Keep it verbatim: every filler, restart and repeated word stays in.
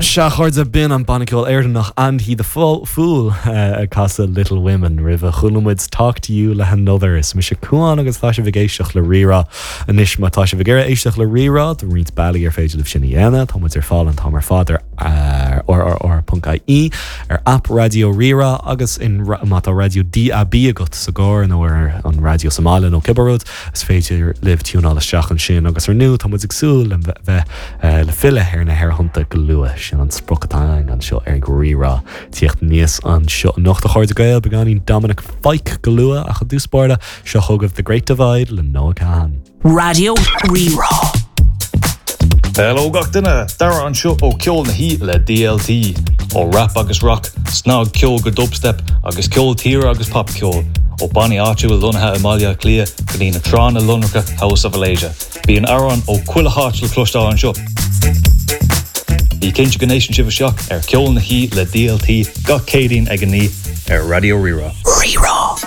Sea a chairde b'in an banna ceoil Éireannach And He the Fool ag casadh Little Women roimhe chuala muid Talk to You le Another is mise Cuán agus tá sibh ag éisteacht le Rí-Rá anois má tá sibh ag iarraidh éisteacht le Rí-Rá tá roinnt bealaí ar féidir libh sin a dhéanamh tá muid ar fáil an t-am ar fad ar rrr.ie ar app Raidió Rí-Rá agus in má tá raidió DAB agat sa gcarr nó ar an raidió sa mbaile nó cibé rud is féidir libh tiúnáil isteach ansin agus ar ndóigh tá muid ag súil le bheith le filleadh ar na haerthonnta go luath sin an sprioc atá anseo ar Rí-Rá tíocht níos anseo anocht a chairde Gael beagáinín Dominic Fike go luath ach i dtús báire seo chugaibh The Great Divide le Noah Kahan. Raidió Rí-Rá. Hello gach duine Dara anseo ó Ceol na hOíche le DLT ó rap agus rock, snagcheol go dubstep agus ceol tíre agus popcheol ó bannaí áitiúil lonnaithe i mBaile Átha Cliath go dtí na tránna lonracha House of Alasia. Bíonn amhráin ó chuile háit le cloisteáil anseo. Bí cinnte go n-éisteann sibh isteach ar Ceol na hOíche le DLT gach Céadaoin ag a naoi ar Raidió Rí-Rá. Rí-Rá.